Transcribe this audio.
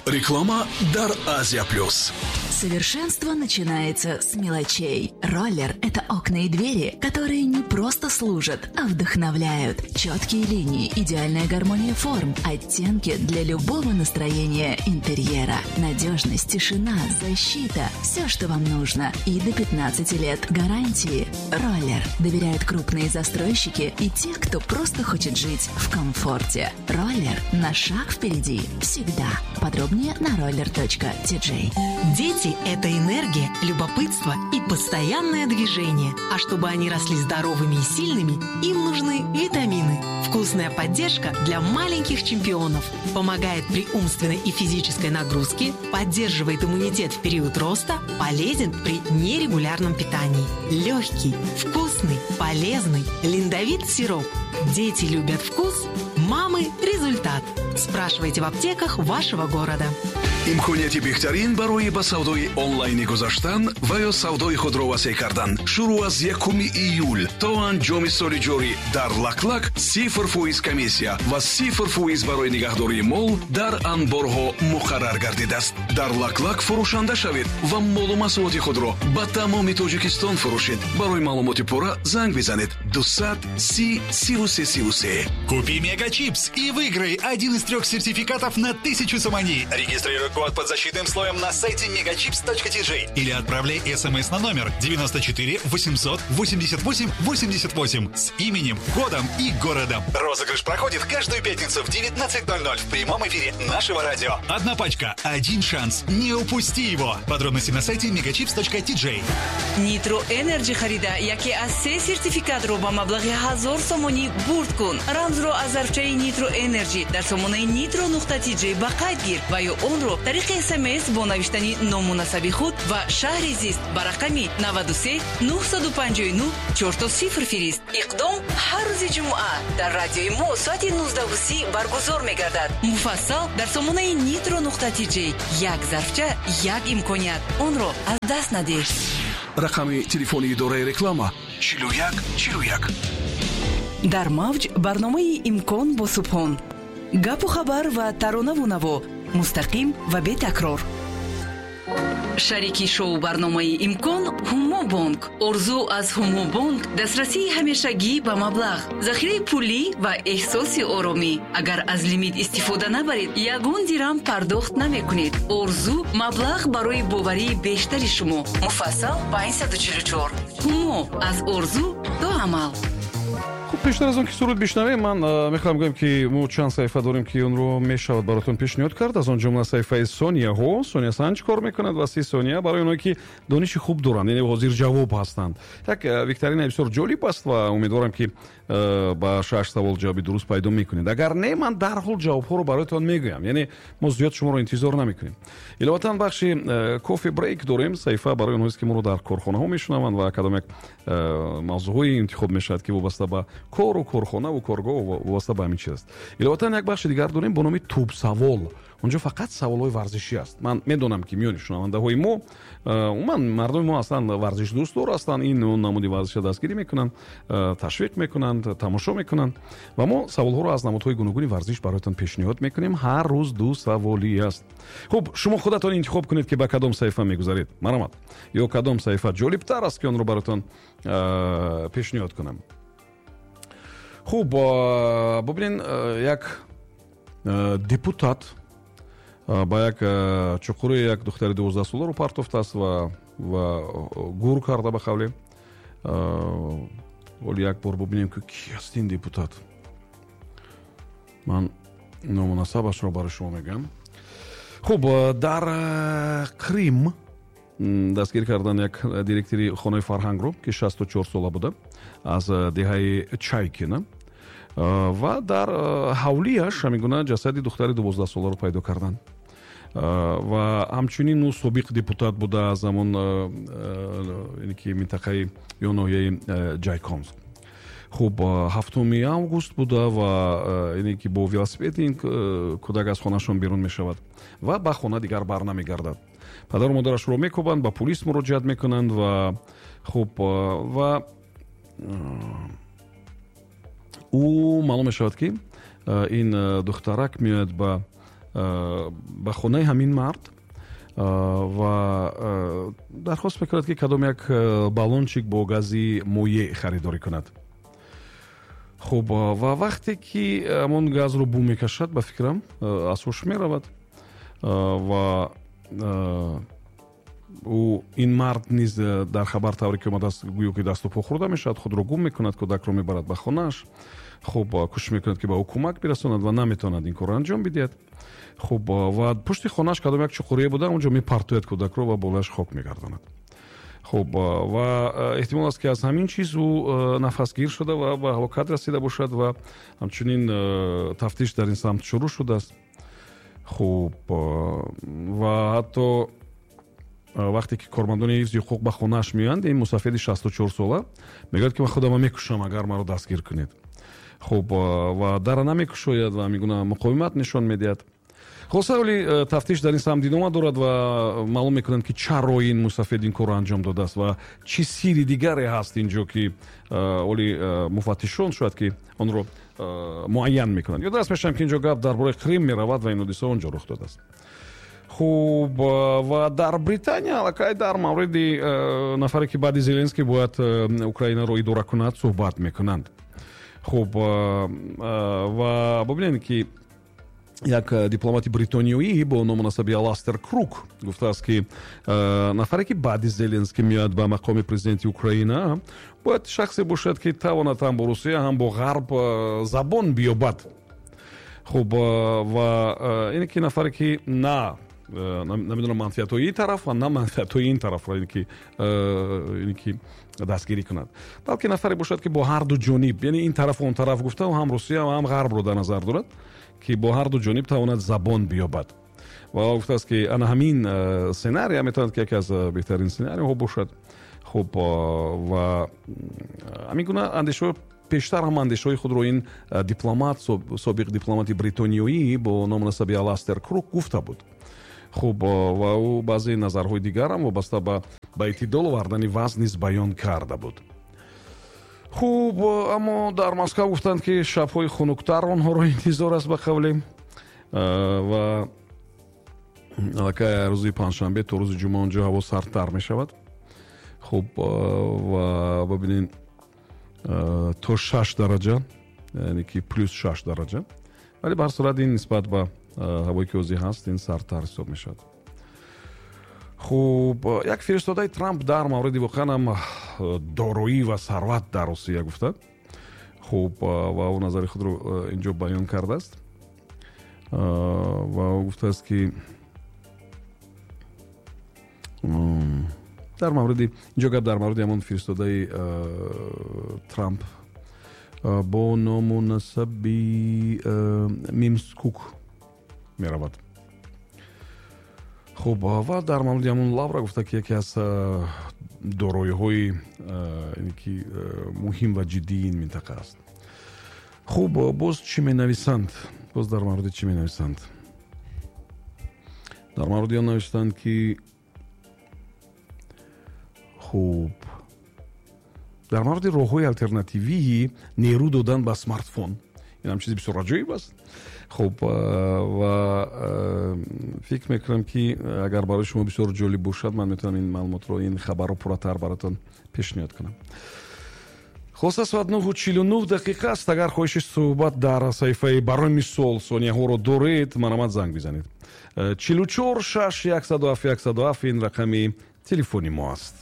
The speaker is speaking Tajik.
Реклама дар Азия Плюс. Совершенство начинается с мелочей. Роллер – это окна и двери, которые не просто служат, а вдохновляют. Четкие линии, идеальная гармония форм, оттенки для любого настроения интерьера. Надежность, тишина, защита – все, что вам нужно. И до 15 лет гарантии. Роллер доверяют крупные застройщики и те, кто просто хочет жить в комфорте. Роллер на шаг впереди всегда. Подробнее на roller.tj. Дети – это энергия, любопытство и постоянное движение. А чтобы они росли здоровыми и сильными, им нужны витамины. Вкусная поддержка для маленьких чемпионов. Помогает при умственной и физической нагрузке, поддерживает иммунитет в период роста, полезен при нерегулярном питании. Легкий, вкусный, полезный Линдовит сироп. Дети любят вкус, мамы – результат. Спрашивайте в аптеках вашего города. Имконияти беҳтарин барои ба савдои онлайнӣ гузаштан ва ё савдои худро васеъ кардан шурӯъ аз 1 июл то анҷоми соли ҷорӣ дар Лаклак 0% комиссия ва 0% барои нигаҳдории мол дар анборҳо муқаррар гардидааст. Дар Лаклак фурӯшанда шавед ва молу маҳсулоти худро ба тамоми Тоҷикистон фурӯшед. Барои маълумоти пурра занг бизанед: 230 33 33. Купи Мегачипс и выиграй один из трех сертификатов на 1000 сомони. Регистрируй код под защитным слоем на сайте megachips.tj или отправляй смс на номер 94 888 88 с именем, годом и городом. Розыгрыш проходит каждую пятницу в 19:00 в прямом эфире нашего радио. Одна пачка, один шанс. Не упусти его. Подробности на сайте megachips.tj. Нитро Энерджи харида яке аз се сертификатро ба маблағи 1000 сомонӣ бурд кун. Рамзро аз зарфчаи Нитро Энерджи дар сомонаи nitro.tj ба қайд гир ва ё онро тариқи СМС бо навиштани ному насаби худ ва шаҳри зист ба рақами 93 959 00 фирист. Иқдом ҳар рӯзи ҷумъа дар радиои мо соати 19:30 баргузор мегардад. Муфассал дар сомонаи nitro.tj. Як зарфча, як имконият, онро аз даст надеҳ. Рақами телефони идораи реклама: 41 41. Дар мавҷ барномаи «Имкон» бо Субҳон. Гапу хабар ва таронаву наво мустақим ва бетакрор. Шарики шоу барномаи «Имкон» Ҳумо Бонк. Орзу аз Ҳумо Бонк: дастрасии ҳамешагӣ ба маблағ, захираи пулӣ ва эҳсоси оромӣ. Агар аз лимит истифода набаред, ягон дирам пардохт намекунед. Орзу: маблағ барои боварии бештари шумо. Муфассал 544. Ҳумо: аз орзу то амал. Хуб, пештар аз он ки суруд бишнавем, ман мехоҳам гӯям, ки мо чанд саҳифа дорем, ки онро мешавад баротон пешниҳод кард. Аз он ҷумла саҳифаи сонияҳо. Сония Санҷ кор мекунад ва 30 сония барои оное, ки дониши хуб доранд, яъне ҳозирҷавоб ҳастанд. Як викторина бисёр ҷолиб аст ва умедворам, ки ба шаш савол ҷавоби дуруст пайдо мекунед. Агар не, ман дарҳол ҷавобҳоро бароятон мегӯям, яъне мо зиёд шуморо интизор намекунем. Иловатан, бахши кофе брейк дорем, саҳифа барои онҳоест, ки моро дар корхонаҳо мешунаванд ва кадом як мавзӯъҳое интихоб мешавад, ки вобаста ба кору корхонаву коргоҳ, вобаста ба ҳамин чиз аст. Иловатан, як бахши дигар дорем бо номи «Тӯбсавол». Онҷо фақат саволҳои варзишӣ аст. Ман медонам, ки миёни шунавандаҳои мо умуман мардуми мо аслан варзишдӯстдор ҳастанд, ин он намуди варзиша дастгирӣ мекунанд, ташвиқ мекунанд, тамошо мекунанд ва мо саволҳоро аз намудҳои гуногуни варзиш бароятон пешниҳод мекунем. Ҳар рӯз ду саволӣ аст. Хуб, шумо худатон интихоб кунед, ки ба кадом саҳифа мегузаред, марҳамат, ё кадом саҳифа ҷолибтар аст, ки онро бароятон пешниҳод кунам. Хуб, бубинед, як депутат ба як чуқури як духтари 12-соларо партофтааст ва гур карда. Ба қавле, ҳоли як бор бубинем, ки ки аст ин депутат. Ман ному насабашро барои шумо мегӯям. Хуб, дар Крим дастгир кардан як директори хонаи фарҳангро, ки 64 сола буда, аз деҳаи Чайкина, ва дар ҳавлияш ҳамин гуна ҷасади духтари 12-соларо пайдо карданд. Ва ҳамчунин ӯ собиқ депутат буда аз ҳамон ки минтақаи ё ноҳияи Ҷайконск. Хуб, 7 август буда ва ине ки бо велосипед ин кӯдак аз хонашон берун мешавад ва ба хона дигар бар намегардад. Падару модарашро мекӯбанд, ба пулис муроҷиат мекунанд ва хуб, ва ӯ маълум мешавад, ки ин духтарак меояд ба ба хонаи ҳамин мард ва дархост мекунад, ки кадом як баллончик бо гази моеъ харидорӣ кунад. Хуб, ва вақте ки ҳамон газро бӯ мекашад, ба фикрам, аз ҳуш меравад ва ӯ, ин мард низ, дар хабар тавре ки омадааст, гӯё ки дасту по хӯрда мешавад, худро гум мекунад, кӯдакро мебарад ба хонааш. Хуб, кӯшиш мекунад, ки ба ӯ кӯмак бирасонад ва наметавонад ин корро анҷом бидиҳад. Хуб, ва пушти хонааш кадом як чуқурие буда, онҷо мепартояд кӯдакро ва болояш хок мегардонад. Хуб, ва эҳтимол аст, ки аз ҳамин чиз ӯ нафасгир шуда ва ба ҳалокат расида бошад ва ҳамчунин тафтиш дар ин самт шурӯъ шудааст. Хуб, ва ҳатто вақте ки кормандони ҳифзи ҳуқуқ ба хонааш меоянд, ин мусафеди 64 сола мегӯяд, ки ман худама мекушам, агар маро дастгир кунед. Хуб, ва дара намекушояд ва ҳамин гуна муқовимат нишон медиҳад. Хулоса, оли тафтиш дар ин самт идома дорад ва маълум мекунанд, ки чаро ин мусафед ин корро анҷом додааст ва чӣ сирри дигаре ҳаст инҷо, ки оли муфаттишон шояд ки онро муайян мекунанд. Ёдрас мешавам, ки инҷо гап дар бораи Қрим меравад ва ин ҳодиса он ҷо рух додааст. Хуб, ва дар Британия аллакай дар мавриди нафаре, ки баъди Зеленский бояд Украинаро идора кунад, суҳбат мекунанд. Хуб, ва бубинед, ки як дипломати бритониёӣ бо ному насаби Аластер Крук гуфтааст, ки нафаре, ки баъди Зеленский меояд ба мақоми президенти Украина, бояд шахсе бошад, ки тавонад ҳам бо Русия, ҳам бо Ғарб забон биёбад. Хуб, ва ине ки нафаре, ки на намедонам манфиатҳои ин тараф ва на манфиатҳои ин тарафро ине ки дастгирӣ кунад, балки нафаре бошад, ки бо ҳарду ҷониб, яъне ин тарафу он тараф гуфта, ҳам Русия ва ҳам Ғарбро дар назар дорад, ки бо ҳарду ҷониб тавонад забон биёбад. Ва гуфтааст, ки ана ҳамин сценария метавонад, ки яке аз беҳтарин сценариҳо бошад. Хуб, ва ҳамин гуна андешаҳо, пештар ҳам андешаҳои худро ин дипломат, собиқ дипломати бритониёӣ бо ному насаби Аластер Крук гуфта буд. Хуб, ва ӯ баъзе назарҳои дигарам вобаста ба эътидол овардани вазн низ баён карда буд. Хуб, аммо дар Москав гуфтанд, ки шабҳои хунуктар онҳоро интизор аст, ба қавле, ва аллакай рӯзи панҷшанбе то рӯзи ҷумъа онҷо ҳаво сардтар мешавад. Хуб, ва бибинед, то 6 дараҷа, яъне ки плюс 6 дараҷа, вале ба ҳар сурат ин нисбат ба ҳавое ки ҳозир ҳаст, ин сардтар ҳисоб мешавад. Хуб, як фиристодаи Трамп дар мавриди воқеан ҳам дороӣ ва сарват дар Русия гуфта. Хуб, ва ӯ назари худро инҷо баён кардааст ва ӯ гуфтааст, ки дар мавриди, инҷо гап дар мавриди ҳамон фиристодаи Трамп бо ному насаби Мимс Кук меравад. Хуб, ва дар мавриди ҳамон лавра гуфта, ки яке аз дороиҳои ки муҳим ва ҷиддии ин минтақа аст. Хуб, боз чӣ менависанд? Боз дар мавриди чӣ менависанд? Дар мавриди он навиштанд, ки, хуб, дар мавриди роҳҳои алтернативии нерӯ додан ба смартфон. Ин ҳам чизи бисёр аҷоиб аст. Хуб, ва фикр мекунам, ки агар барои шумо бисёр ҷолиб бошад, ман метавонам ин маълумотро, ин хабарро пурратар баротон пешниҳод кунам. Хулоса, соат 9:49 аст. Агар хоҳиши суҳбат дар саҳифаи, барои мисол, сонияҳоро доред, марҳамат, занг бизанед. 44 6 107 107 ин рақами телефони мо аст.